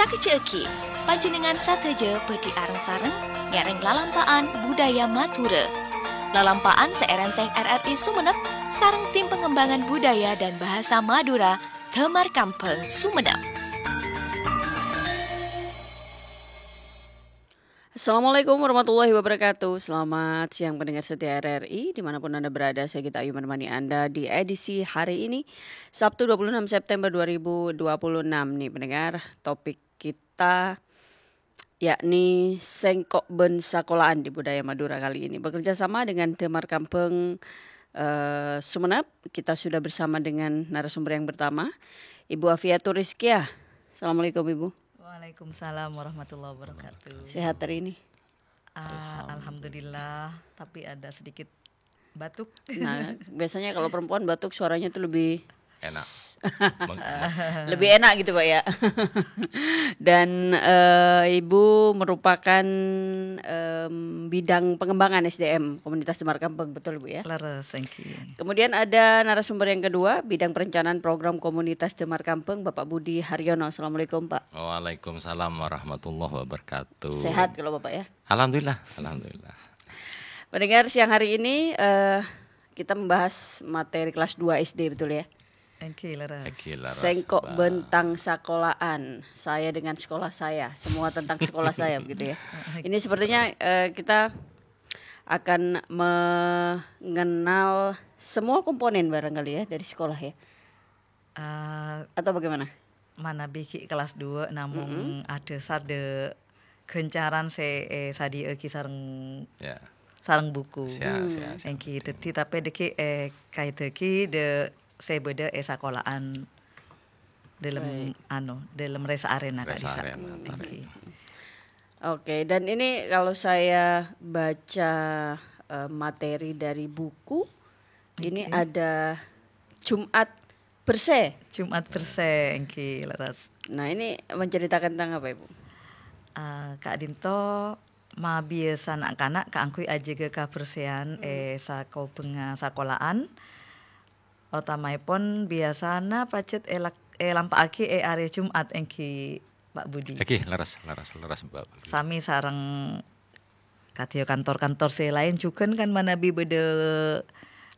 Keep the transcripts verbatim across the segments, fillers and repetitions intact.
Kejjhâ'âghi, panjhennengngan sadhâjâ bhâdhi areng-sareng ngèrèng lalampa'an budaya Madhurâ. Lalampa'an sè èrèntèng R R I Sumenep sareng Tim Pengembangan Budaya dan Bahasa Madura, Damar Kambhâng, Sumenep. Assalamualaikum warahmatullahi wabarakatuh. Selamat siang pendengar setia R R I, dimanapun Anda berada. Saya Gita Ayu menemani Anda di edisi hari ini, Sabtu dua puluh enam September dua ribu dua puluh enam nih pendengar. Topik kita yakni Sèngko' bân Sakolaan di Budaya Madura kali ini. Bekerja sama dengan Damar Kambhâng, eh, Sumenep, kita sudah bersama dengan narasumber yang pertama, Ibu Afiatur Rizkiah. Assalamualaikum, Ibu. Waalaikumsalam warahmatullahi wabarakatuh. Sehat hari ini? Ah, alhamdulillah, tapi ada sedikit batuk. Nah, biasanya kalau perempuan batuk suaranya tuh lebih Enak. Meng- lebih enak gitu, Pak, ya. Dan, eh, Ibu merupakan, em, bidang pengembangan S D M Komunitas Damar Kambhâng, betul, Bu, ya? Leres, thank you. Kemudian ada narasumber yang kedua, bidang perencanaan program Komunitas Damar Kambhâng, Bapak Budi Haryono. Assalamualaikum, Pak. Waalaikumsalam warahmatullahi wabarakatuh. Sehat kalau Bapak, ya? Alhamdulillah, alhamdulillah. Pendengar, siang hari ini, eh, kita membahas materi kelas dua S D, betul, ya? Èngghi, leres. Èngghi, leres, Sèngko' Mbak. Bân tang sakolaan, saya dengan sekolah saya, semua tentang sekolah saya, begitu, ya. Ini sepertinya, eh, kita akan mengenal semua komponen barangkali, ya, dari sekolah, ya. Eh, Atau bagaimana? Manabi ghi' kelas dua, namong Mm-mm. adhâsar dâ' ghâncaran sè, eh, èsadhiyâ'âghi sareng, Ya. sareng buku. Siap, Hmm. siap, siap. Èngghi, dhâddhi tapè dâgghi', eh, kaèdhâghi dâ' sè bâdâ è sakola'an dâlem, Baik. anu, dâlem rè-saarèna ka'dhissa'. Rè-saarèna, Èngghi. Oke, dan ini kalau saya baca, eh, materi dari buku, ini Oke. ada Jumat Bersè. Jumat Bersè, èngghi, leres. Nah, ini menceritakan tentang apa, Ibu? Ah, ka'dhinto mabiyasa na'-kana' kaangghuy ajâgâ kabersèyan Hmm. è sakobhângnga sakola'an. Otamaèpon biyasana pajhât èlak-, èlampa'aghi è arè Jumat, èngghi, Pak Budi. Èngghi, leres, leres, leres, Mbak. Samè sareng kadhi kantor-kantor sè laèn jhughân kan manabi bâdâ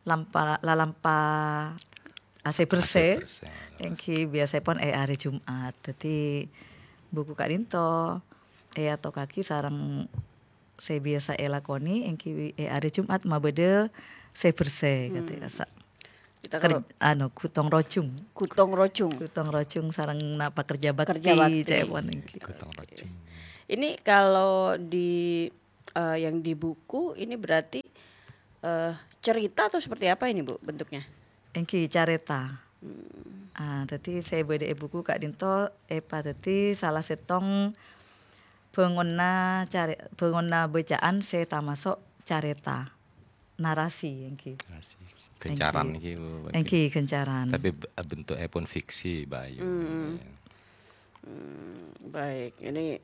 lampa-, lalampa A C bersè. A C bersè, leres. Èngghi biyasaèpon è arè Jumat. Dhâddhi buku ka'dhinto èatokaghi sareng sè biyasa èlakonè èngghi è arè Jumat mabâdâ sè bersè, Hmm. kadhi kassa'. Kita Ker-, kalau anu, ghutong rojung. Ghutong rojung. Ghutong rojung sareng napa kerja bakti, Kerja bakti. ca'èpon èngghi. Ghutong rojung. Ini kalau di, eh, yang di buku ini berarti, eh, cerita atau seperti apa ini, Bu, bentuknya? Èngghi carèta. Hmm. Ah, dhâddhi sè bâdâ è buku ka'dhinto èpadhâddhi sala sèttong bângonna carè-, bângonna bâcaan sè tamaso' carèta. Narasi, èngghi. Narasi. Ghâncaran Èngghi. Niki, Bu, Pak. Èngghi, ghâncaran. Tapi b-, bentuknya pun fiksi, Mbak Ayu. Hmm. Hmm, baik. Ini,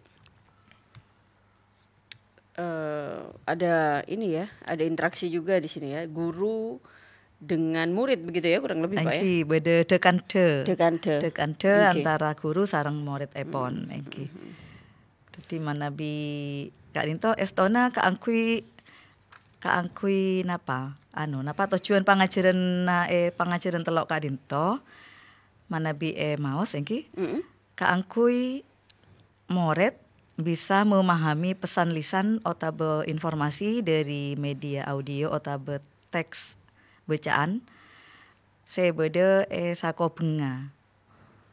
eh, ada ini ya, ada interaksi juga di sini ya. Guru dengan murid begitu ya, kurang lebih, Pak, ya? Èngghi, bâdâ dhâ-kandhâ. Dhâ-kandhâ. Dhâ-kandhâ Èngghi. antara guru sareng murid èpon, Hmm. èngghi. Hmm. Dhâddhi manabi ka'dhinto èstona kaangghuy, kaangghuy napa? Anu, napa tojjhuwân pangajhârânna, eh, pangajhârân tello' ka'dhinto? Manabi èmaos èngghi, Mm-mm. kaangghuy morèd bisa memahami pesan lisan otabâ informasi dâri media audio otabâ teks bâcaan sè bâdâ è sakobhângnga.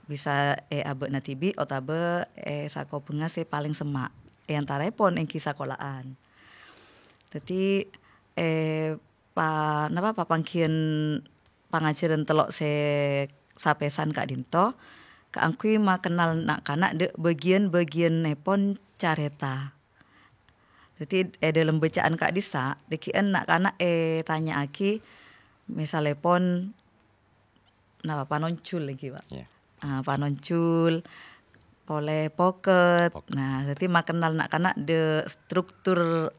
Bisa è abâ'na dhibi' otabâ è sakobhângnga sè palèng semma', è antaraèpon èngghi sakola'an. Dhâddhi, è pa-, napa, papangghiyân pangajhârân tello' sè sapèsan ka'dhinto, kaangghuy makennal na'-kana' dâ' bâgiyân-bâgiyânnèpon carèta. Dhâddhi, è dâlem bâcaan ka'dhissa', dhâggi'ân na'-kana' ètanya'aghi, misalèpon, napa, panonjhul èngghi, Pak? Iya. Ah, panonjhul, polè poket. Poket. Nah, dhâddhi makennal na'-kana' dâ' struktur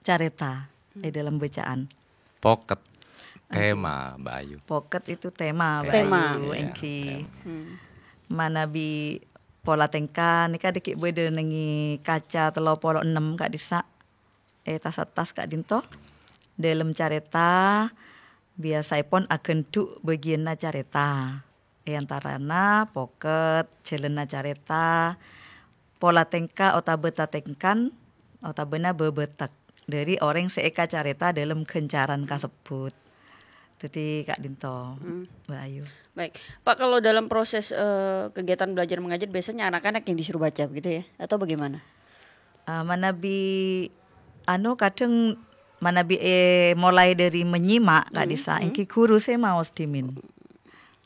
carèta Hmm. è dâlem bâcaan. Poket. Èngghi. Tema, Mbak Ayu. Poket itu tema, Mbak Tema. Ayu, Iya, èngghi. tema. Hmm. Manabi pola tèngka nèka dâgghi' bâdâ nèng è kaca tello polo ennem ka'dissa', è tas-attas ka'dinto. Dâlem carèta biyasaèpon aghândhu' bâgiyânna carèta. È antarana pokèt, jhâlânna carèta, pola tèngka otabâ tatèngkan, otabâna bâbâtek dâri orèng sè èkacarèta dâlem ghâncaran kasebbhut. Dâddhi ka'dinto, Hmm. Mbak Ayu. Baik, Pak, kalau dalam proses, eh, kegiatan belajar mengajar, biasanya anak-anak yang disuruh baca begitu ya, atau bagaimana? Eh, manabi, anu, kadhâng manabi, eh, mulai dâri menyimak, Kak Hmm, Disa, hmm. èngghi ghuru sè maos dhimèn.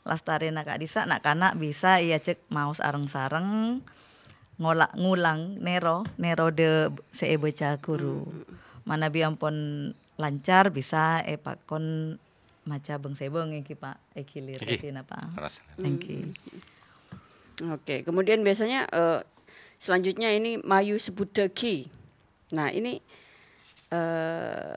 Lastarèna, Kak Disa, na'-kana' bisa èajhâk maos areng-sareng, ngola-, ngulang, nèro, nèro dâ-, sè èbâca ghuru. Hmm. Manabi ampon lancar, bisa èpakon maca bâng-sèbâng èngghi, Pak, èghilir Èngghi. Dâddhi napa? Ras. Èngghi. Oke, kemudian biasanya, eh, selanjutnya ini mayu sebbhuttaghi. Nah, ini, eh,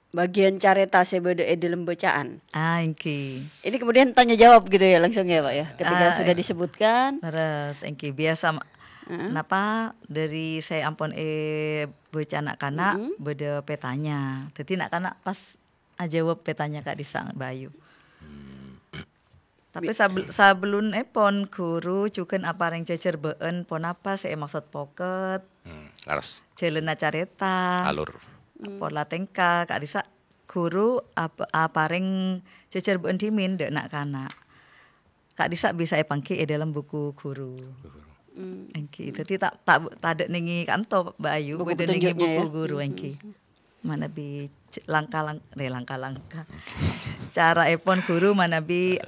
bagian carèta sè bâdâ è dâlem bacaan. Ah, èngghi. Ini kemudian tanya jawab gitu ya, langsung ya, Pak, ya? Ketika Ah, sudah eh. disebutkan. Leres, èngghi. Biasa ma-, Heeh. napa dâri sè ampon èbâca na'-kana' Mm-mm. bâdâ pètanya. Dâddhi na'-kana' pas ajâwâb pètanya Kak Disa, Mbak Ayu. Hmm. Tapè Bi- sabel-, sabellunèpon ghuru jhughân aparèng jhâjhârbâ'ân ponapa sè èmaksod pokèt, Hmm, lerres. jhâlânna carèta, Alur. pola tèngka, Kak Disa, ghuru ap-, aparèng jhâjhârbâ'ân dhimèn dâ' na'-kana'. Kak Disa bisa èpangghi è dâlem buku ghuru. Buku ghuru. Hmm. Èngghi. Dâddhi ta', ta', tadâ' nèng è kanto, Mbak Ayu, Buku bâdâ nèng è petunjuknya buku ya. ghuru, Hmm. èngghi. Manabi c-, langka-lang-, eh, langka-langka. Caraèpon ghuru manabi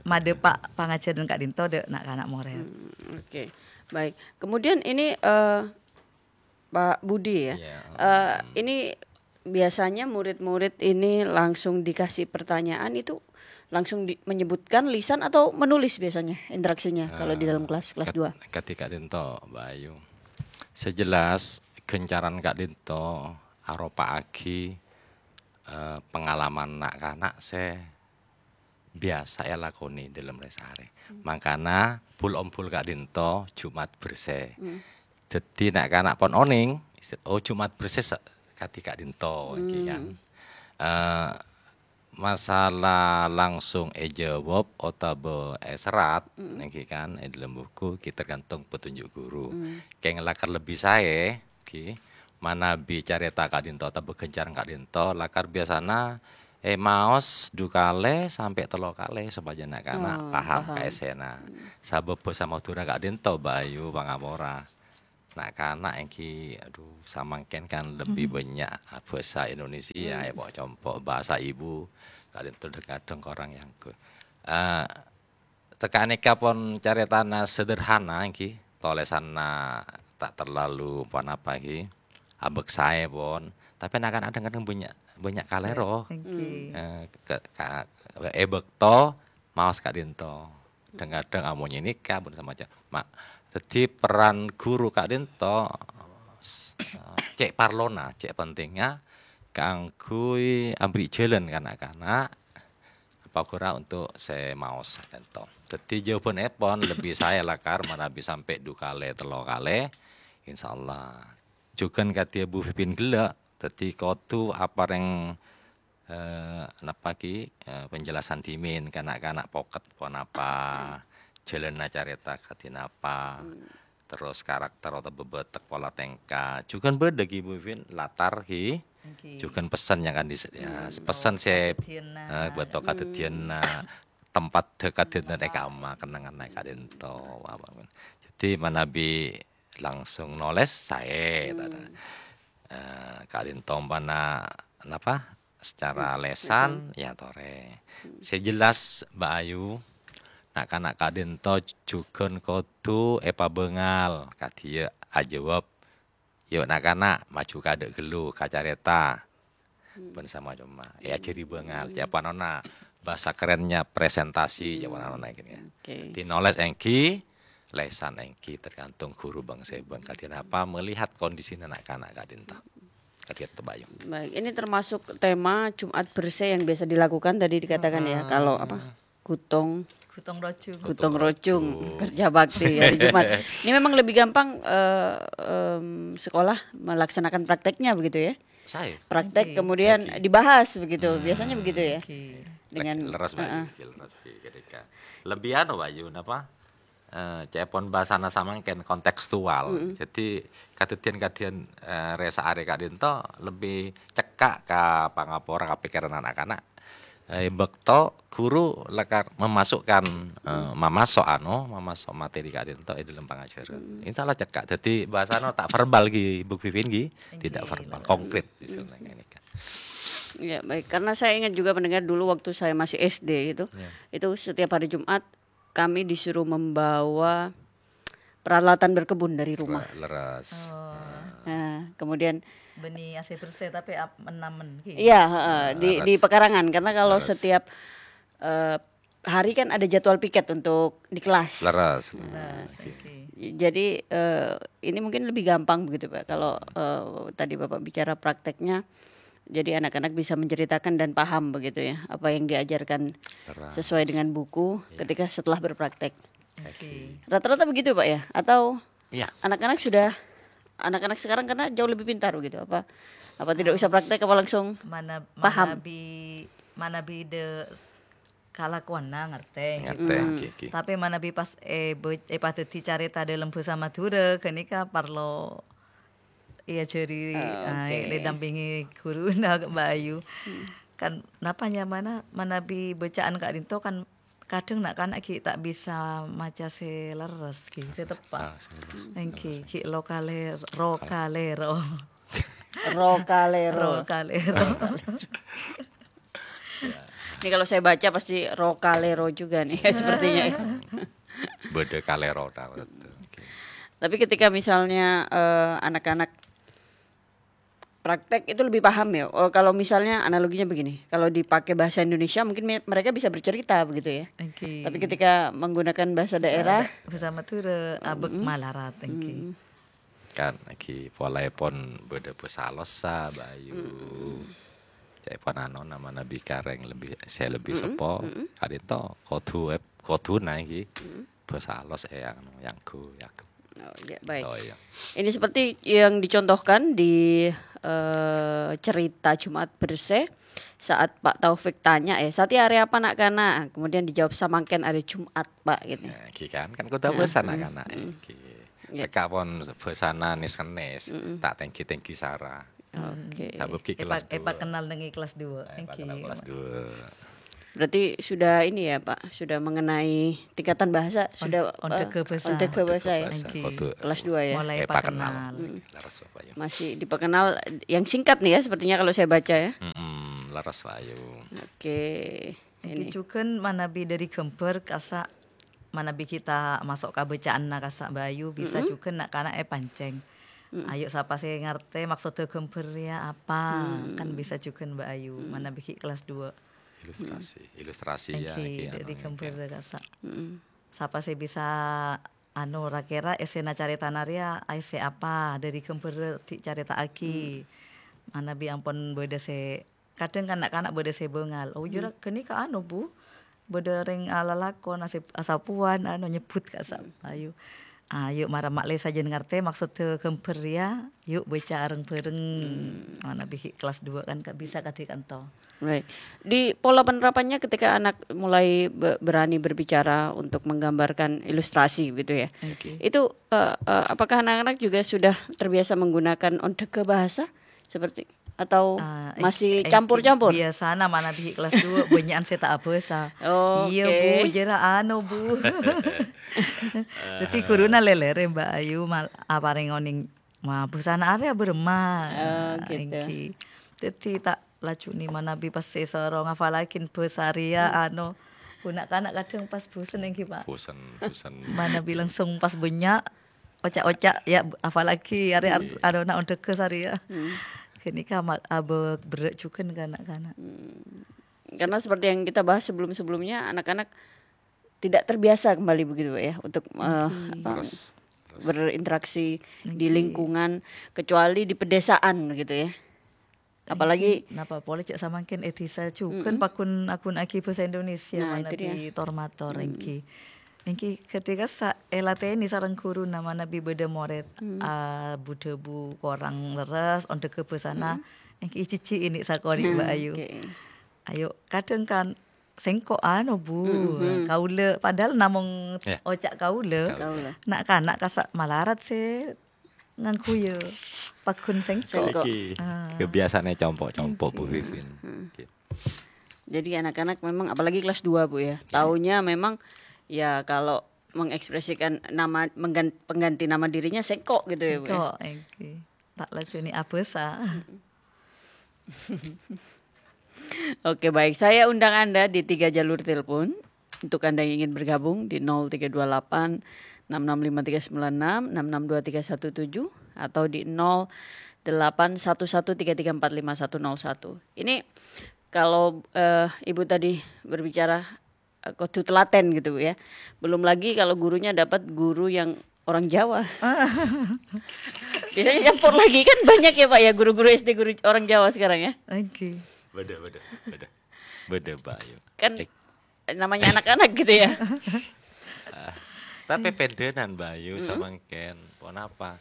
madhâpa' pangajhârân ka'dinto dâ' na'-kana' morèd. Hmm, oke. Baik. Kemudian ini, eh, Pak Budi ya. Iya, Eh, hmm. ini biasanya murid-murid ini langsung dikasih pertanyaan itu langsung di-, menyebutkan lisan atau menulis biasanya interaksinya kalau di dalam Eh, kelas, kelas kat-, dua? Kadhi ka'dinto, Mbak Ayu. Sè jelas, ghâncaran ka'dinto aropa'aghi, eh, pengalaman na'-kana' sè biyasa èlakonè dâlem rè-sarè. Hmm. Mangkana, bul-ombul ka'dinto Jumat Bersè. Hmm. Dâddhi, na'-kana' pon onèng, isti-, oh, Jumat Bersè sa-, kadhi ka'dinto, èngghi kan. Hmm. Eh, masalah langsung èjâwâb otabâ èserrat, Mm. èngghi kan, è dâlem buku, ghi tergantung petunjuk guru. Mm. Kèng lakar lebbi saè, ghi, manabi carèta ka'dinto otabâ ghâncaran ka'dinto, lakar biyasana èmaos du kalè sampè' tello kalè sopajâ na'-kana' Oh, paham paham. ka èssèna. Mm. Sabâb bhâsa Madhurâ ka'dinto, Mbak Ayu, pangapora. Na'-kana' èngghi, adhu, samangkèn kan lebbi Mhm. bânnya' bhâsa Indonesia, Hmm. èpo'-compo' bhâsa ibu, ka'dinto dhâng-kadhâng korang èangghuy. Eh, tèka nèka pon carètana sederhana èngghi, tolèsanna ta' terlalu ponapa èngghi, abâksaè pon, tapè na'-kana' dhâng-kadhâng bânnya', bânnya' kalèro. Èngghi. Hmm. Eh, ke-, ka-, è bâkto maos ka'dinto. Dhâng-kadhâng amonyè nèka, bân samacem. Ma-, dâddhi peran ghuru ka'dinto, s-, cè' parlona, cè' pentingnga kaangghuy ambri' jhâlân ka na'-kana', apa ghura untuk sè maos ka'dinto. Dâddhi jâwâbhânèpon lebbi saè lakar manabi sampè' du kalè, tello kalè, insyaallah. Jhughân kadhi Bu Pipin ghellâ', dâddhi kodhu aparèng eh, napa ki, eh, penjelasan dhimèn ka na'-kana' pokèt ponapa, jhâlânna carèta kadhi napa, Hmm. terros karakter otabâ bâtek pola tèngka. Jhughân bâdâ ki, Bu Vin, latar ki. Èngghi. Jhughân pessen yang kan di-, ya, Hmm, pessen oh, sè, kadhâddhiyânna. eh, bâto Hmm. kadhâddhiyânna, tempat dâ-, kadhâddhiyânna è kama, kennengnganna ka'dinto, apa, dâddhi manabi langsung nolès saè, Hmm. ta-, eh, ka'dinto ompana, napa, secara Iya, lesan, betul. ya torè. Hmm. Sè jelas, Mbak Ayu, na'-kana' ka'dinto jhughân kodhu èpabângal, kadhiyâ ajâwâb, "Yo, na'-kana', maju kadâ' ghâllu, ka carèta." Hmm. Bân samacemma. Èajhâri bângal, Hmm. cè' panonna bhâsa kerennya presentasi, cè' Hmm. panonna gini ya. Oke. Dâddhi nolès èngghi, lesan èngghi, tergantung ghuru bâng-sèbâng. Kadhi napa melihat kondisina na'-kana' ka'dinto. Kadhi èto, Mbak Ayu. Baik, ini termasuk tema Jumat Bersè yang biasa dilakukan tadi dikatakan ya, Mm-mm. kalau apa, gotong. Gotong royong. Gotong royong, kerja bakti hari Jumat. Ini memang lebih gampang, eh, em, sekolah melaksanakan prakteknya begitu ya. Saè. Praktek, oke, kemudian dibahas begitu. Biasanya begitu ya. Oke. Dengan, leres, Pak, heeh. Oke, leres, oke, ketika. Lebih anu, Pak Yu, napa? Eh, ca'èpon bhâsana samangkèn kontekstual. Mm-mm. Jadi, kadhâddhiyân-kadhâddhiyân, eh, rè-saarè ka'dinto lebbi cekka' ka pangapora, ka pèkkèran na'-kana'. Eh, bâkto ghuru lakar memasukkan, eh, mamaso' anu, mamaso' materi ka'dinto è dâlem pangajhârân. Mm. Insyaallah cekka'. Dhâddhi bhâsana ta' verbal ghi, Bu Vivin ghi, tidak verbal, konkret istilahnya ini kan. Ya, baik. Karena saya ingat juga mendengar dulu waktu saya masih S D gitu, itu setiap hari Jumat kami disuruh membawa peralatan berkebun dari rumah. Wah, leres. Oh. Nah, kemudian bânnè asè bersè, tapè ap-, menamen, ghi. Iya, heeh, di, di pekarangan. Karena kalau setiap, eh, hari kan ada jadwal piket untuk di kelas. Leres. Nah, leres, oke. Jadi, eh, ini mungkin lebih gampang begitu, Pak. Kalau, eh, tadi Bapak bicara prakteknya, jadi anak-anak bisa menceritakan dan paham begitu ya, apa yang diajarkan sesuai dengan buku ketika setelah berpraktek. Oke. Rata-rata begitu, Pak, ya? Atau anak-anak sudah, anak-anak sekarang karena jauh lebih pintar begitu, apa, apa tidak usah praktek, apa langsung paham? Manabi, manabi de kalakowanna ngartè, gitu. Ngartè, oke, oke. Tapè manabi pas, eh, bo-, eh, pas dhâddhi carèta dâlem bhâsa Madhurâ, ghânèka parlo èajhâri, ah, oke, èdampingi ghuruna, Mbak Ayu. Kan, napa nyamana manabi bâcaan ka'dinto kan kadhâng na'-kana' ghi' ta' bisa maca sè lerres, ghi', sè teppa'. Ah, sè lerres. Engghi, lerres. Ghi' lokale-, rokalero. Rokalero. Rokalero. Ini kalau saya baca pasti rokalero juga nih, sepertinya ya. Bâdâ kalero ta', betul. Oke. Tapi ketika misalnya, eh, anak-anak praktek itu lebih paham ya. Oh, kalau misalnya analoginya begini, kalau dipakai bahasa Indonesia mungkin me-, mereka bisa bercerita begitu ya. Oke. Tapi ketika menggunakan bahasa daerah, bhâsa Madhurâ, abâk malarat, oke. Kan, lagi polaèpon bâdâ bhâsa alossa, Bayu. Ca'èpon anu, namana bi karèng lebbi, sè lebbi seppo. Ka'dinto kodhu, kodhu naèki bhâsa alos, eh, anu, yanggu, yagem. Oh, ya, baik. Oh, iya. Ini seperti yang dicontohkan di, eh, cerita Jumat Bersè, saat Pak Taufik tanya, eh, "Satèya arè apa, na'-kana'?" Kemudian dijawab, "Samangkèn arè Jumat, Pak," gitu. Ya, iki kan, kan kodhu bhâsa na'-kana', iki. Iya. Teka pon bhâsana nes-kenes, ta' tenggi-tenggi sara. Oke. Sabâb ghi' kelas dua. Epa kenal neng kelas dua. Eh, epa kenal kelas dua. Berarti sudah ini ya, Pak, sudah mengenai tingkatan bahasa, sudah, ondhâghâ bhâsa. Ondhâghâ bhâsa ya? Ondhâghâ bhâsa, kodhu. Kelas dua ya? Mulai epa kenal. Leres, Bapak, ya. Masih diperkenal yang singkat nih ya, sepertinya kalau saya baca ya. Mm-mm, leres, Bayu. Oke. Ngghi, ini. Jhughân manabi dhâri ghâmbhâr kassa', manabi ghi' ta' maso' ka bâcaanna kassa' Bayu, bisa jhughân na'-kana' èpancèng. Ayo, sapa sè ngartè maksoddhâ ghâmbhâr rèya apa? Kan bisa jhughân Mbak Ayu, manabi ghi' kelas dua. Ilustrasi, ilustrasi ya, ngghi, dhâri ghâmbhâr kassa'. Sapa sè bisa, anu, ra-kèra èssèna carètana rèya aèssè apa? Dhâri ghâmbhâr ghi' carèta'aghi. Manabi ampon bâdâ sè Kadhâng kan na'-kana' bâdâ sè bângal, "Oh, jhâ' ra ghânèka anu, Bu, bâdâ rèng alalakon asep-, asapowan, anu, nyebbhut kassa' Bayu. Ayo, mara ma'lè sajân ngartè maksoddhâ ghâmbhâr rèya, yu' bâca areng-bhâreng." Manabi kelas dua kan, Kak, bisa kadhi kanto. Baik. Di pola penerapannya ketika anak mulai be-, berani berbicara untuk menggambarkan ilustrasi gitu ya. Oke. Itu, eh, eh, apakah anak-anak juga sudah terbiasa menggunakan ondhâghâ bahasa? Seperti, atau masih campur-campur? Biasana manabi kelas dua, bânnya'an sè ta' abhâsa. Oh, oke. Iyâ, Bu, jhâ' ra anu, Bu. Dhâddhi ghuruna lèlèrè, Mbak Ayu, mal-, aparèng onèng, "Ma, bhâsana arèya bârâmma?" Oh, gitu. Èngghi. Dhâddhi ta' lajunè manabi pas èsoro ngafalaghin bhâsa rèya, anu, na'-kana' kadhâng pas bosen èngghi, Pak. Bosen, bosen. Manabi langsung pas bânnya', oca'-oca', ya, apalagi arè ar-, arona ondhâghâ sarèya. Ghânèka ma-, abâ-, berrâ' jhughân ka na'-kana'. Karena seperti yang kita bahas sebelum-sebelumnya, anak-anak tidak terbiasa kembali begitu, Pak, ya, untuk, eh, apa, berinteraksi di lingkungan, kecuali di pedesaan, gitu, ya. Apalagi napa polè cè' samangkèn è dhisa jhughân Mm-mm. paggun-agunaghi bhâsa Indonesia Nah, itu manabi dia. tor-mator, Mm. èngghi. Èngghi ghâtèka sa-, èlatènè sareng ghuruna manabi bâdâ morèd, Mm. ah, bu-dhâbu korang lerres, ondhâghâ bhâsana, Mm. èngghi jhijhi' ini sakonè', Mbak Hmm, Ayu. oke. Ayo, kadhâng kan sèngko' anu, Bu. Mm-hmm. Kaulâ, padahal namong Iya. oca' kaulâ. Kaulâ. Kaulâ. Na'-kana' kasa' malarat sè ngangghuy paggun sèngko'. Sèngko'. Iki Ah. kebiasaannya compo'-compo', Bu Vivin. Hmm. Oke. Jadi anak-anak memang, apalagi kelas dua, Bu, ya. Iya. Taunya memang, ya, kalau mengekspresikan nama, menggan-, pengganti nama dirinya sèngko' gitu ya, Bu, ya? Sèngko', èngghi. Ta' lajunè abhâsa. Oke, baik. Saya undang Anda di tiga jalur telepon. Untuk Anda yang ingin bergabung di nol tiga dua delapan, enam enam lima tiga sembilan enam, enam enam dua tiga satu tujuh, atau di nol delapan satu satu tiga tiga empat lima satu nol satu. Ini kalau, eh, Ibu tadi berbicara, eh, kudu telaten gitu, Bu, ya. Belum lagi kalau gurunya dapat guru yang orang Jawa. Biasanya campur lagi, kan banyak ya, Pak, ya, guru-guru S D guru orang Jawa sekarang ya. Oke. Bâdâ, bâdâ, bâdâ. Bâdâ, Mbak Ayu. Kan Eh. namanya anak-anak gitu ya. Ah, tapè pèndhânan, Mbak Ayu, Mm-mm. samangkèn. Ponapa?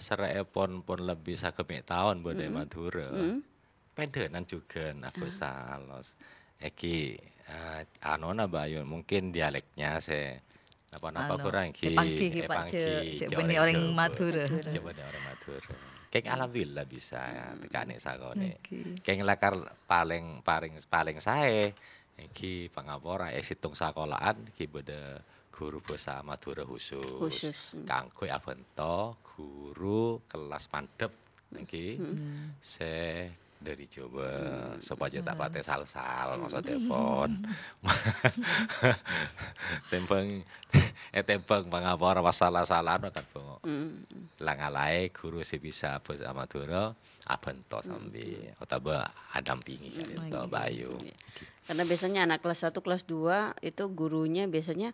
Sèrè'èpon pon lebbi sagemmè' taon bâdâ è Mm-mm. Madhurâ. Mm-mm. Pèndhânan jhughân, Ah. abhâsa alos. Èngghi, eh, anona, Mbak Ayu, mungkin dialeknya sè napa-napa Anu, kurang, èngghi, èpanggi, èngghi, Pak, èpanggi, cè', cè' cè' bânnè orèng orèng Jawa. Madhurâ. Madhurâ. Cè' bânnè orèng Madhurâ. Kèng alhamdulillah bisa, ya, Mm-mm. tèkanè sakonè'. Oke. Kèng lakar palèng, paling, paling saè, èngghi pangapora è sèttong sakola'an, èngghi bâdâ guru bhâsa Madhurâ khusus. Khusus, hmm. Kaangghuy abhânto guru kellas mandhâp, èngghi, Hmm. sè dâri Jawa, Hmm. sopajâ ta' patè sal-sal, Hmm. maksodèpon. Tèmbhâng, eh, tèmbhâng pangapora pas sala-sala, no, kan, Bu. Hmm. La ngalaè guru sè bisa bhâsa Madhurâ, abhânto Hmm. sambi, otabâ adampingi, Hmm. kan, ènto, Oke. Mbak Ayu. Iya. Karena biasanya anak kelas satu, kelas dua itu gurunya biasanya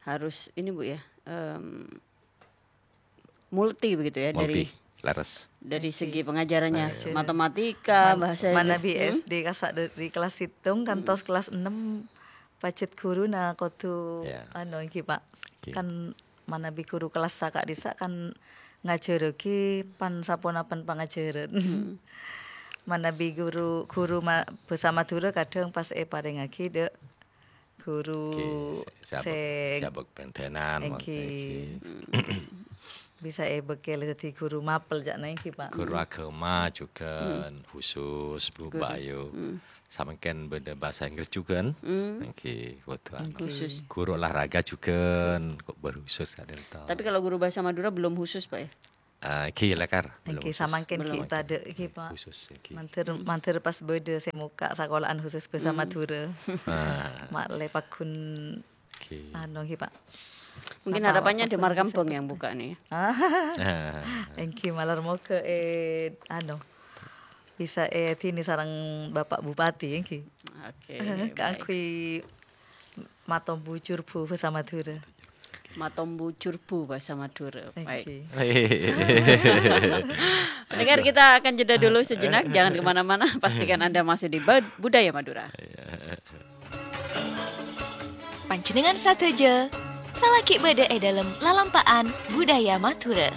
harus ini, Bu, ya, em, multi begitu ya, Multi, dari, leres. dari segi Oke. pengajarannya, Baik. matematika, Man-, bahasa Inggris. manabi Hmm? S D kasa' dari kelas sèttong kantos Hmm. kelas ennem, pajhât ghuruna kodhu, Ya. anu, èngghi, Pak. Oke. Kan manabi ghuru kelas saka'dissa' kan ngajhârraghi pan-saponapan pangajhârân. Hmm. Manabi ghuru, ghuru ma-, bhâsa Madhurâ kadhâng pas èparèngaghi dâ' ghuru Oke, sè, sè abâk, sè sè abâk pèndhânan, èngghi. Èngghi. Bisa èbâkkèl dhâddhi ghuru mapel, ca'na èngghi, Pak. Ghuru Hmm. aghâma jhughân Hmm. khusus, Bu, Guru. Mbak Ayu. Hmm. Samangkèn bâdâ bahasa Inggris jhughân. Hmm. Èngghi, kodhu anu. Khusus. Ghuru olahraga jhughân, kok berkhusus ka'dinto. Tapi kalau guru bahasa Madura belum khusus, Pak, ya? Ah, èngghi, lakar. Belum Èngghi, khusus. samangkèn Belum. ghi' tadâ', èngghi, Pak. Khusus, èngghi. Mandhâr, mandhâr pas bâdâ sè mokka' sakola'an khusus bhâsa Hmm. Madhurâ. Ah. Ma'lè paggun, Èngghi. anu, èngghi, Pak. Mungkin Apa harapannya waktu Damar bisa Kampung yang bertemu? buka nih, ya. Ah. Ah. Èngghi, malar moghâ, eh, anu, bisa èdini sareng Bapak Bupati, èngghi. Oke, baik. Kaangghuy matombu curbu bhâsa Madhurâ. Matombu curbu bhâsa Madhurâ. Baik. Èngghi. Pendengar, kita akan jeda dulu sejenak. Jangan kemana-mana. Pastikan Anda masih di Bud-, Budaya Madura. Panjhennengngan sadhâjâ, salaghi bâdâ è dâlem lalampa'an Budaya Madhurâ.